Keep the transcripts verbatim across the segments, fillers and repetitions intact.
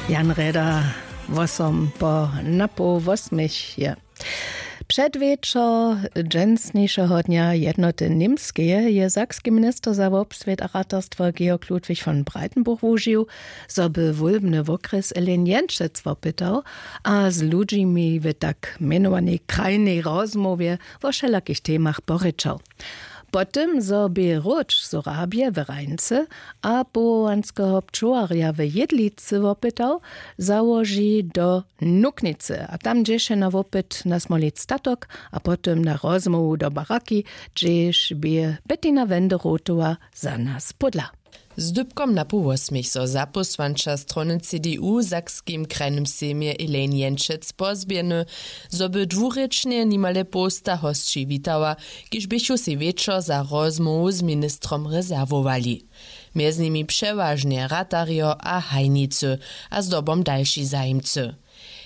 Jan Reda, wosom po napoł wosměch je. Předwječor dźensnišeho dnja jednoty Němskeje je sakski minister za wobswět a ratarstwo Georg Ludwig von Breitenbuch wužił, zo by wólbny wokrjes Elen Jenčec wopytał a z ludźimi w tak mjenowanej krajnej rozmołwje wo wšelakich temach porěčał. Po tym zo bě hróč z Horabje w Rajnce a powołanskeho pčołarja w Jědlicy wopytał, załoži do Nuknicy a tam dźěše na wopyt na smolic statok a po tym na rozmołwu do baraki, hdźež bě Bettina Wenderotowa za nas pódla. Z dypkom na połosměch so zapósłanča strony C D U w sakskim krajnym sejmje Elaine Jenčec pozběhny, zo by dwurěčnje nimale połsta hosći witała, kiž běchu sej wječor za rozmołwu z ministrom rezerwowali. Mjez nimi přewažnje ratarjo a hajnicy a zdobom dalši zajimcy.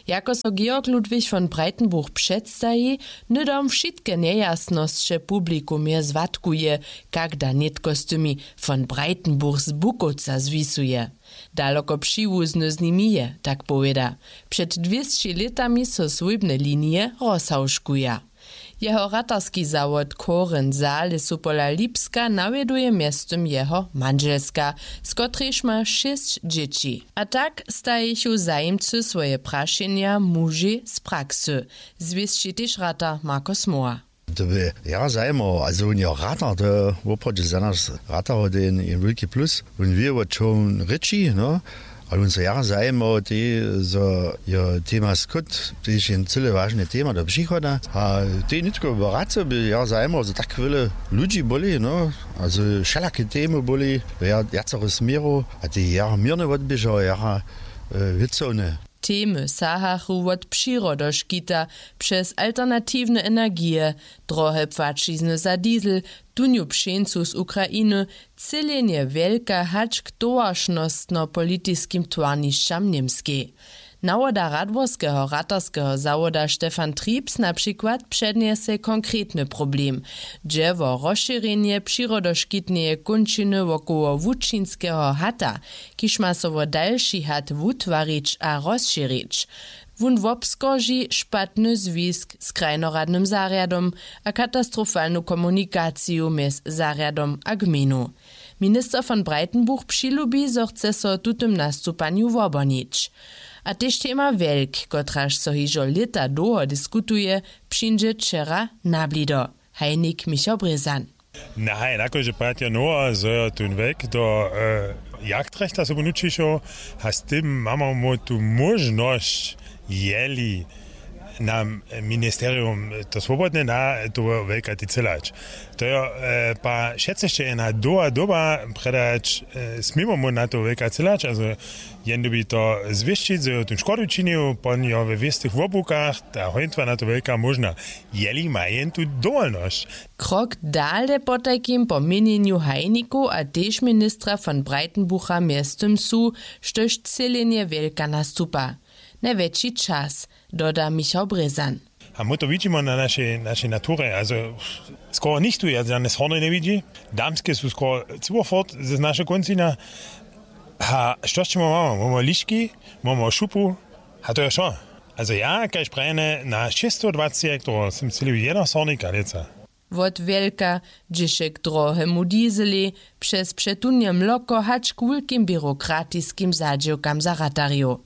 Jako so Georg Ludwig von Breitenbuch předstaji, hnydom wšitke njejasnosće publikumje zwatkuje, kak da nětko z tymi von Breitenbuch z Bukowca zwisuje. Daloko přiwuzny z nimi je, tak powěda. Před dwěsći lětami so swójbne linije rozhałžkuja. Jeho ratarski zawod Koren Saal su pola Lipska nawjeduje mjeztym jeho mandźelska, z kotrejž ma šěsć dźěći. A tak stajichu zajimcy swoje prašenja mužej z praksy, zwěsći tež ratar Marko Smoła. To by jara zajimował, a zo wón je ratar, to je woprawdźe za nas ratarjow jen jen wulki plus. Wón wě wo čo wón rěči, no. Ale wón so jara zajimował tej, zo jo tema skót tež jen cyle wažne tema do přichoda. A tej nětko bratřo by jara zajimował, zo tak wjele ludźi byli, no. A zo wšelake temy byli, wjacore směrow a tej jara měrnje wotběžał jara wěcowne. Temy sahachu wot přirodoškita, přez alternatiwne energije, drohe płaćizny za diesel, tunju pšeńcu z Ukrainy, třělenje wjelka hač k towaršnostnopolitiskim twarnišćam w němskej. Nawoda radworskeho ratarskeho zawoda Stefan Triebs na přikład přednjese konkretny problem, dźe wo rozšěrjenje přirodoškitneje kónčiny wokoło łučinskeho hata, kiž ma so wo dalši hat wutwarić a rozšěrić. Wón wobskorži špatny zwisk z krajnoradnym zarjadom a katastrofalnu komunikaciju mjez zarjadom a gmejnu. Minister von Breitenbuch přilubi, zo chce so w tutym nastupanju wobhonić. A tež tema wjelk, kotraž so hižo lěta dołho diskutuje, přińdźe wčera na blido. Hajnik Michał Brězan. Nahaj, na kóždy pad jo nowa zo jo tón wjek do jagdrechta sobu nućišoł, a z tym mamy mu tu móžnosć, jeli nam ministerium to swobodne na, to wjelka decylać. To jo, pa wšetcy sće je na doła doba predać, směmo mu na to wjelka cylać, azo jen dybi to zwěsćić, zo jo tón škodu činił, pon jo we wěstych wobłukach, ta hojntwa na to wjelka móžna, jeli ma jen tu dowolnosć. Krok dale potajkim po měnjenju hajnikow a tež ministra von Breitenbucha mjeztym su, štož třělenje wjelka nastupa. Najwjetši čas, doda Michał Brězan. A my to widźimy na našej našej naturje, azo skoro nichtó ja žane sorny njewidźi. Damske su skoro cyłofort z našeho kóncinja. A što sće mamy mamy mamy liški, mamy šupu. A to je wšo. Azo ja kaž prajene na šěsćstodwaceći hektorow sym třělił jeno sornika lětsa. Wot wjelka, dźěše k drohemu dieselej, přez přetunje mloko hač k wulkim běrokratiskim zadźěłkam za ratarjow.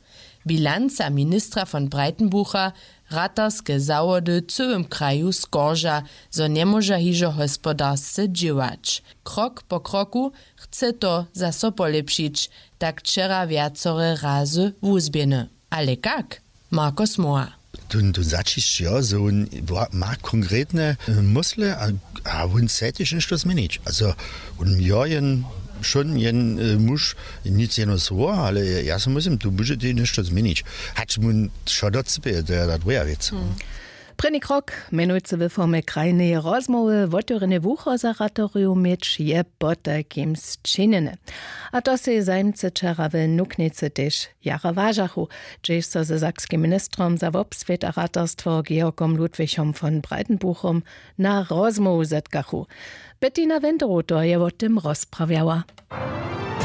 Bilanca ministra von Breitenbucha, ratarske zawody w cyłym kraju skorža, zo njemóža hižo hospodarsce dźěłać. Krok po kroku chce to zaso polěpšić, tak wčera wjacore razy wuzběhny. Ale kak? Marko Smoła. Tón tón zaćišć jo zo wón ma konkretne mysle a wón chce tež něšto změnić, azo wón jo jen wšón jen muž, nic jeno słowo, ale ja so myslim tu budźetej něšto změnić, hač wón wšo docypěje, to je ta druha wěc. Prěni krok, mjenujcy w formje krajneje rozmołwy wotewrjene wucho za ratorjow měć, je potajkim sčinjene. A to sej zajimcy wčera w Nuknicy tež jara wažachu, hdźež so ze sakskim ministrom za wobswět a ratarstwo Georgom Ludwichom von Breitenbuchom na rozmołwu zetkachu. Bettina Wenderotor je wo tym rozprawjała.